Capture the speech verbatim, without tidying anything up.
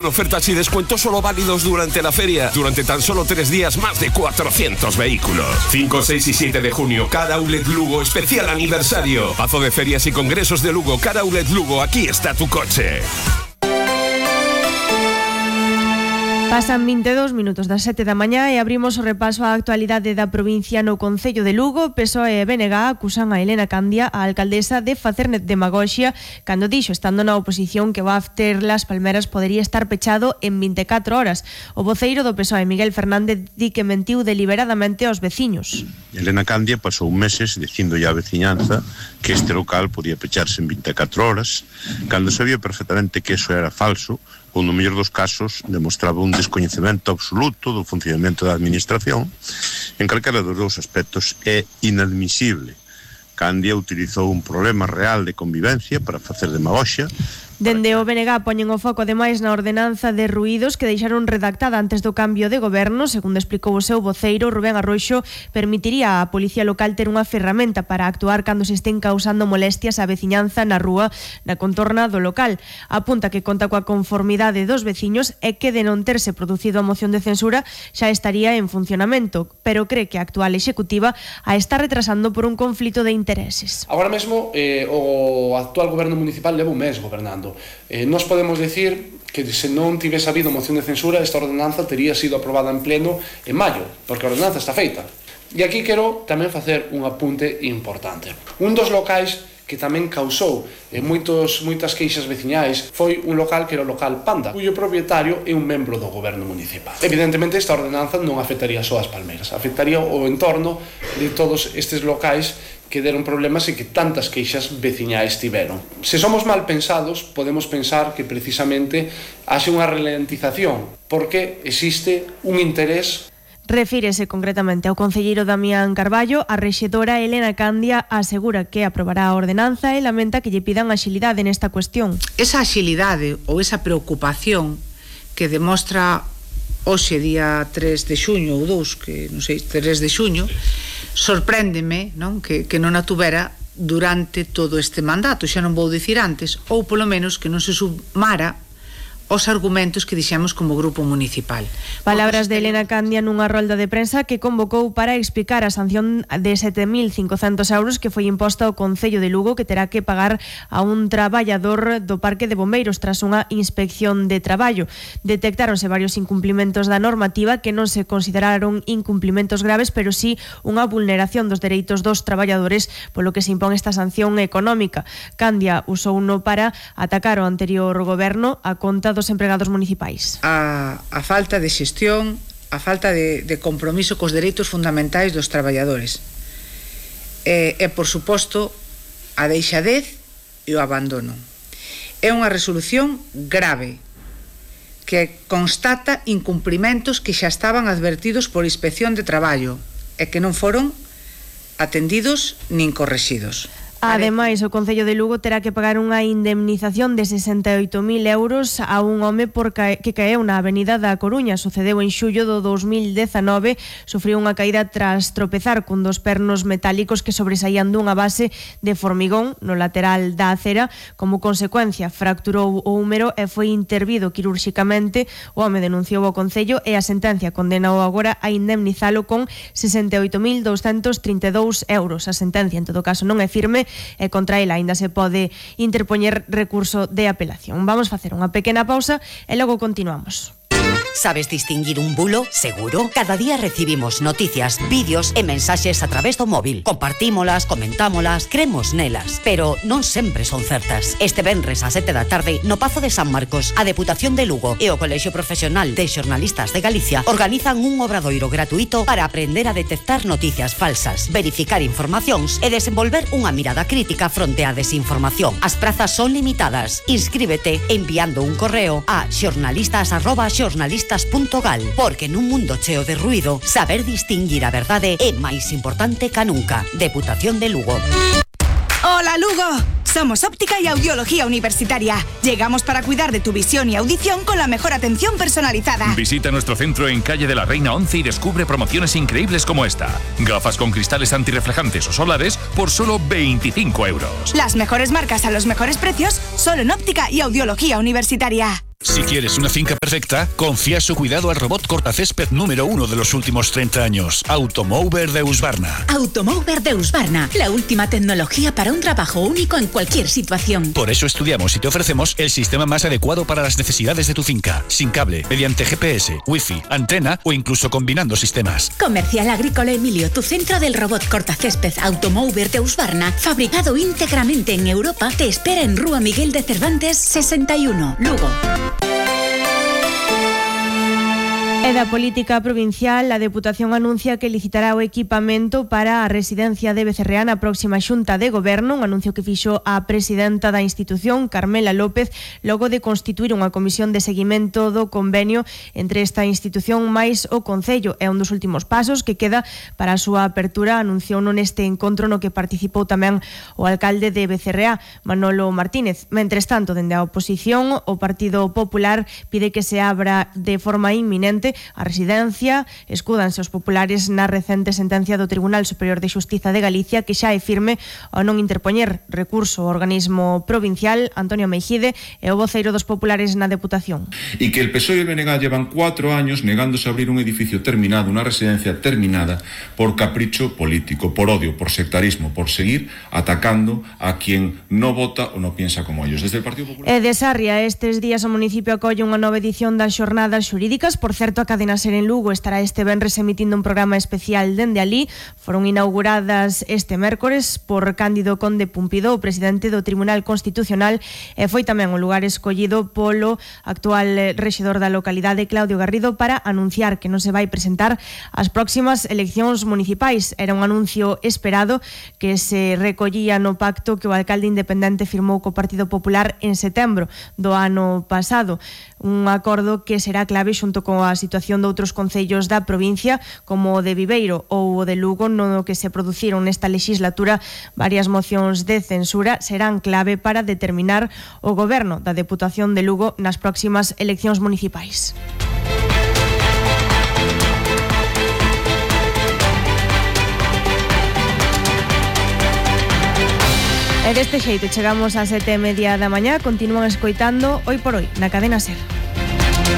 ofertas y descuentos solo válidos durante la feria. Durante tan solo tres días, más de cuatrocientos vehículos. cinco, seis y siete de junio, Car Outlet Lugo, especial aniversario. Pazo de Ferias y Congresos de Lugo, Car Outlet Lugo, aquí está tu coche. Pasan vinte e dous minutos das sete da mañá e abrimos o repaso á actualidade da provincia no Concello de Lugo. P S O E e B N G acusan a Elena Candia, a alcaldesa, de facer demagoxia cando dixo, estando na oposición, que o after Las Palmeras podería estar pechado en vinte e catro horas. O voceiro do P S O E, Miguel Fernández, di que mentiu deliberadamente aos veciños. Elena Candia pasou meses dicindo á veciñanza que este local podía pecharse en vinte e catro horas, cando sabía perfectamente que eso era falso, ou no mellor dos casos demostraba un descoñecemento absoluto do funcionamento da administración. En calquera dos dous aspectos é inadmisible. Candia utilizou un problema real de convivencia para facer demagoxia. Dende o B N G poñen o foco ademais na ordenanza de ruídos que deixaron redactada antes do cambio de goberno. Segundo explicou o seu voceiro, Rubén Arroxo, permitiría á Policía Local ter unha ferramenta para actuar cando se estén causando molestias á veciñanza na rúa na contorna do local. Apunta que conta coa conformidade dos veciños e que de non terse producido a moción de censura xa estaría en funcionamento, pero cree que a actual executiva a está retrasando por un conflito de intereses. Agora mesmo eh, o actual goberno municipal leva un mes gobernando. Eh, nos podemos decir que se non tivese habido moción de censura, esta ordenanza tería sido aprobada en pleno en maio, porque a ordenanza está feita. E aquí quero tamén facer un apunte importante. Un dos locais que tamén causou eh, moitos, moitas queixas veciñais foi un local que era o local Panda, cuyo propietario é un membro do goberno municipal. Evidentemente esta ordenanza non afectaría só as Palmeras, afectaría o entorno de todos estes locais que deron problemas e que tantas queixas veciñais tiveron. Se somos mal pensados, podemos pensar que precisamente haxe unha ralentización, porque existe un interés. Refírese concretamente ao concelleiro Damián Carballo. A rexedora Elena Candia asegura que aprobará a ordenanza e lamenta que lle pidan axilidade nesta cuestión. Esa axilidade ou esa preocupación que demostra hoxe día tres de xuño ou dous, que non sei, tres de xuño, sorpréndeme, non, que, que non a tuvera durante todo este mandato, xa non vou dicir antes, ou polo menos que non se sumara os argumentos que dixemos como grupo municipal. Palabras de Elena Candia nunha rolda de prensa que convocou para explicar a sanción de sete mil cincocentos euros que foi imposta ao Concello de Lugo, que terá que pagar a un traballador do Parque de Bombeiros tras unha inspección de traballo. Detectáronse varios incumplimentos da normativa que non se consideraron incumplimentos graves, pero sí unha vulneración dos dereitos dos traballadores, polo que se impón esta sanción económica. Candia usou uno para atacar o anterior goberno a conta dos empregados municipais. A, a falta de xestión, a falta de, de compromiso cos dereitos fundamentais dos traballadores. E, e, por suposto, a deixadez e o abandono. É unha resolución grave que constata incumprimentos que xa estaban advertidos por Inspección de Traballo e que non foron atendidos nin correxidos. Ademais, o Concello de Lugo terá que pagar unha indemnización de sesenta e oito mil euros a un home por ca... que caeu na Avenida da Coruña. Sucedeu en xullo do dos mil dezanove, sufriu unha caída tras tropezar cun dos pernos metálicos que sobresaían dunha base de formigón no lateral da acera. Como consecuencia, fracturou o húmero e foi intervido quirúrxicamente. O home denunciou ao Concello e a sentencia condenou agora a indemnizalo con sesenta e oito mil douscentos trinta e dous euros. A sentencia, en todo caso, non é firme e contra ela aínda se pode interpoñer recurso de apelación. Vamos facer unha pequena pausa e logo continuamos. ¿Sabes distinguir un bulo? Seguro. Cada día recibimos noticias, vídeos e mensaxes a través do móvil. Compartímolas, comentámolas, cremos nelas, pero non sempre son certas. Este venres a sete da tarde no Pazo de San Marcos, a Deputación de Lugo e o Colexio Profesional de Xornalistas de Galicia organizan un obradoiro gratuito para aprender a detectar noticias falsas, verificar informacións e desenvolver unha mirada crítica fronte á desinformación. As prazas son limitadas. Inscríbete enviando un correo a xornalistas arroba xornalistas punto gal, porque nun mundo cheo de ruído, saber distinguir a verdade é máis importante ca nunca. Deputación de Lugo. ¡Hola, Lugo! Somos Óptica y Audiología Universitaria. Llegamos para cuidar de tu visión y audición con la mejor atención personalizada. Visita nuestro centro en Calle de la Reina once y descubre promociones increíbles como esta. Gafas con cristales antirreflejantes o solares por solo veinticinco euros. Las mejores marcas a los mejores precios, solo en Óptica y Audiología Universitaria. Si quieres una finca perfecta, confía su cuidado al robot cortacésped número uno de los últimos treinta años, Automower de Husqvarna. Automower de Husqvarna, la última tecnología para un trabajo único en cualquier situación. Por eso estudiamos y te ofrecemos el sistema más adecuado para las necesidades de tu finca, sin cable, mediante G P S, Wi-Fi, antena o incluso combinando sistemas. Comercial Agrícola Emilio, tu centro del robot cortacésped Automower de Husqvarna, fabricado íntegramente en Europa, te espera en Rúa Miguel de Cervantes sesenta y uno, Lugo. E da política provincial, a Deputación anuncia que licitará o equipamento para a residencia de Becerreá na próxima xunta de goberno, un anuncio que fixo a presidenta da institución, Carmela López, logo de constituir unha comisión de seguimento do convenio entre esta institución máis o Concello. É un dos últimos pasos que queda para a súa apertura, anunciou neste encontro no que participou tamén o alcalde de Becerreá, Manolo Martínez. Mentres tanto, dende a oposición, o Partido Popular pide que se abra de forma inminente a residencia. Escúdanse os populares na recente sentencia do Tribunal Superior de Xustiza de Galicia, que xa é firme ao non interpoñer recurso ao organismo provincial. Antonio Meijide é o voceiro dos populares na Deputación. Y que el P S O E y el B N G llevan cuatro años negándose a abrir un edificio terminado, una residencia terminada, por capricho político, por odio, por sectarismo, por seguir atacando a quien no vota o no piensa como ellos. Desde el Partido Popular... E de Sarria, estes días o municipio acolle unha nova edición das xornadas xurídicas. Por certo, a cadena SER en Lugo estará este venres emitindo un programa especial dende alí. Foron inauguradas este mércores por Cándido Conde Pumpido, o presidente do Tribunal Constitucional, e foi tamén o lugar escollido polo actual rexedor da localidade, Claudio Garrido, para anunciar que non se vai presentar ás próximas eleccións municipais. Era un anuncio esperado que se recollía no pacto que o alcalde independente firmou co Partido Popular en setembro do ano pasado. Un acordo que será clave xunto con a situación de outros concellos da provincia, como o de Viveiro ou o de Lugo, no que se produciron nesta legislatura varias mocións de censura, serán clave para determinar o goberno da Deputación de Lugo nas próximas eleccións municipais. E deste xeito chegamos a sete e media da mañá. Continúan escoitando Hoy por Hoy na cadena SER.